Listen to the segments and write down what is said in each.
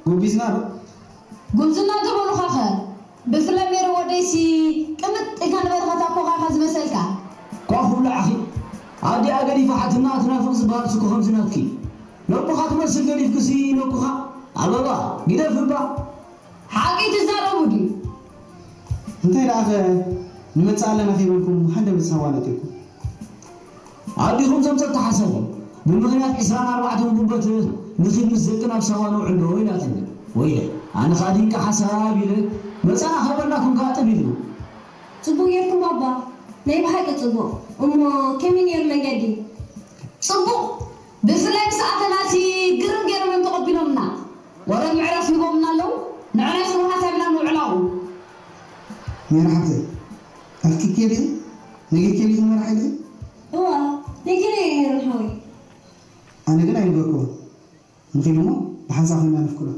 ጉቢዝና ዶ? ጉብዝና ገበሩኻኸ? ብፍላይ ሜሮ ወደይሲ ቅምጥ ኢልካ ንበረኸት ኣኮኻኸ ዝመሰልካ? ኳኹ ብላዕኺ ኣዲኣ ገዲፋ ሓትና ትናፍቕ ዝበሃል ስኮ ከምዚ ናትኪ ነኩኻ ትመስል ገዲፍክሲ ነኩኻ ኣበባ ግደፍ እባ ሓቂ ትዛረቡ ድዩ? እንታይ ደኣኸ ንመጽእ ኣለና ከይበልኩም ሃንደበት ሳዋ ነጢርኩም ኣዲኹም ዘምፀት ተሓሰቡ ብምኽንያት ዕስራን ኣርባዕተን ጉንበት ንኺድ ምስ ደቂ ናብ ሳዋ ንውዕሎ ኢላትኒ ወይለ ኣነ ኸኣ ድንቂ ሓሳብ ኢለ መፀና ከይበልናኩም ከዓ ጥብ ኢልና ፅቡቅ ጌርኩም ኣባ ናይ ብሓቂ ፅቡቅ እሞ ከመይ ነይሩ መንገዲ ፅቡቅ ብፍላይ ምስ ኣተናሲ ግርም ገይሮም እዮም ተቐቢሎምና ወረ ምዕረፍ ሂቦምና ኣለዉ ንዕናይ ስሩ ሓሳብ ኢና ንውዕላኡ ሜራ ሓብተይ ኣፍኪ ኬዲ ነጊር ኬዲ መራሒ ኢልኺ እዋ ነጊረ እየ ሜሮን ሓወይ ኣነ ግን ኣይነገርኩዎን ንኺድ እሞ ብሓንሳብ ኮይና ነፍቅዶ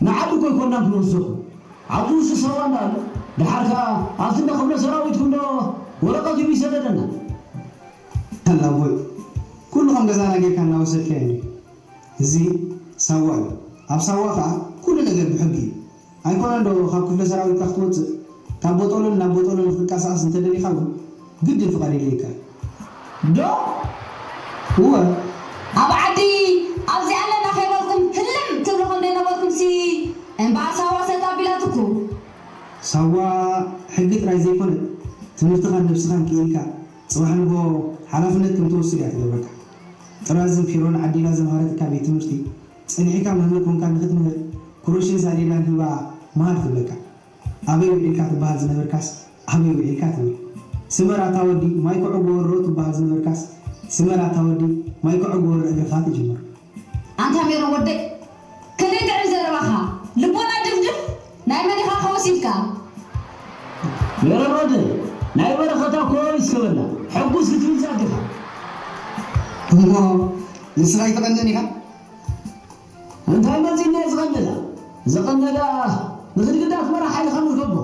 ንዓዲ እኮ ኣይኮናን ክንወስደኩም ኣብዚ ውሽጢ ሳዋ እንዳ ኣሎ ድሓር ከዓ ኣብቲ እንዳ ክፍለ ሰራዊትኩም ዶ ወረቀት እዩ ይሰደደና ኣላቦይ ኩሉ ከም ገዛና ጌርካ እናወሰድካዮ እንዲ እዚ ሳዋ እዩ ኣብ ሳዋ ከዓ ኩሉ ነገር ብሕጊ እዩ ኣይኮነን ዶ ካብ ክፍለ ሰራዊትካ ክትወፅእ ካብ ቦጦሎን ናብ ቦጦሎን ክትንቀሳቀስ እንተደሊካ እውን ግድን ፍቃድ የድልየካ እዩ ዶ እወ ኣብ ዓዲ ኣብዚ ኣለና ከይበልኩም ህልም ትብሉ ከም ዘይነበርኩም ሲ እምበኣር ሳዋ ሰጥ ኣቢላትኩም ሳዋ ሕጊ ጥራይ ዘይኮነ ትምህርትኻን ነብስኻን ክኢልካ ፅባሕ ንጎ ሓላፍነት ከም ትወስድ እያ ትገብረካ ጥራዝን ፊሮን ዓዲላ ዘምሃረትካ ቤት ትምህርቲ ፀኒሕካ መምህር ኮንካ ንክትምህር ክሮሽን ሳዴላን ሂባ መሃር ትብለካ ኣበይ ውዒልካ ትበሃል ዝነበርካስ ኣበይ ውዒልካ ትብል ስመር ኣታ ወዲ ማይ ክዕጎ ወሮ ትበሃል ዝነበርካስ ስመር ኣታ ወዲ ማይ ክዕጎ ወሮ እግርኻ ትጅምር ኣንታ ሜሮን ወደይ ከመይ ጥዕም ዘረባኻ ልቦና ድፍድፍ ናይ መን ኢኻ ከወሲድካ ሜሮን ወደይ ናይ በረኸታ ኮ ይስከበላ ሕጉስ ክትብል ዛግኻ እሞ ንስኻ ኣይትቐንእን ኢኻ እንታይ መፂና እዩ ዝቐንዳ ዝቐንዳ ንኽድግዳት መራሕ ሓይልኻ ንርከቦ